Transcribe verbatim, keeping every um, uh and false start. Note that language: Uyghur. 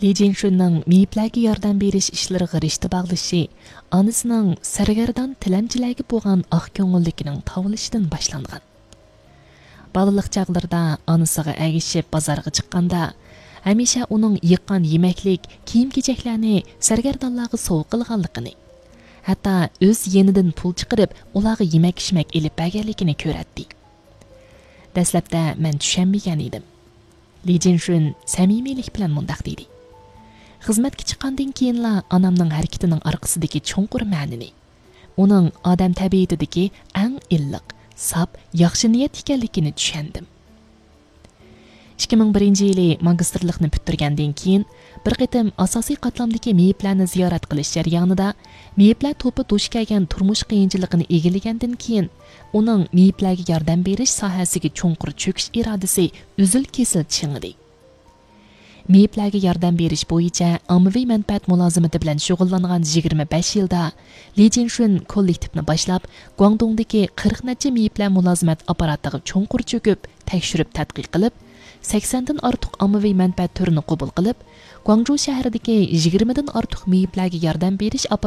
لى جىنشۈننىڭ مېيىپلەرگە ياردەم بېرىش ئىشلىرىغا رىشتە باغلىشى ئانىسىنىڭ سەرگەردان تىلەمچىلەرگە بولغان ئاق كۆڭۈللۈكىنىڭ تاۋلىشىدىن باشلانغان. بالىلىق چاغلىرىدا ئانىسىغا ئەگىشىپ بازارغا چىققاندا، ھەمىشە ئۇنىڭ يىغقان يېمەكلىك، كىيىم-كېچەكلەرنى سەرگەردانلارغا سوۋغا قىلغانلىقىنى، ھەتتا ئۆز يېنىدىن پۇل چىقىرىپ، ئۇلارغا يېمەك-ئىچمەك ئېلىپ بەرگەنلىكىنى كۆرەتتى. دەسلەپتە مەن چۈشەنمىگەن ئىدىم. لى جىنشۈن سەمىمىيلىك بىلەن مۇنداق دېدى: «خىزمەتكە چىققاندىن كېيىنلا ئانامنىڭ ھەرىكىتىنىڭ ئارقىسىدىكى چوڭقۇر مەنىنى، ئۇنىڭ ئادەم تەبىئىتىدىكى ئەڭ ئىللىق، ساپ، ياخشى نىيەت ئىكەنلىكىنى چۈشەندىم.» ئىككى مىڭ بىرىنچى يىلى ماگىستىرلىقنى پۈتتۈرگەندىن كېيىن، بىر قېتىم ئاساسىي قاتلامدىكى مېيىپلەرنى زىيارەت قىلىش جەريانىدا، مېيىپلەر توپى دۇچ كەلگەن تۇرمۇش قىيىنچىلىقىنى ئىگىلىگەندىن كېيىن، ئۇنىڭ مېيىپلەرگە ياردەم بېرىش ساھەسىگە چوڭقۇر چۆكۈش ئىرادىسى ئۈزۈل-كېسىل چىڭىدى. مېيىپلەرگە ياردەم بېرىش بويىچە ئاممىۋى مەنپەئەت مۇلازىمىتى بىلەن شۇغۇللانغان يىگىرمە بەش يىلدا، لى جىنشۈن كوللېكتىپنى باشلاپ، گۇاڭدۇڭدىكى قىرىق نەچچە مېيىپلەر مۇلازىمەت ئاپپاراتىغا چوڭقۇر چۆكۈپ، تەكشۈرۈپ تەتقىق قىلىپ، سەكسەندىن ئارتۇق ئاممىۋى مەنپەئەت تۈرىنى قوبۇل قىلىپ، گۇاڭجۇ شەھىرىدىكى يىگىرمىدىن ئارتۇق مېيىپلەرگە ياردەم بېرىش ئاپپاراتى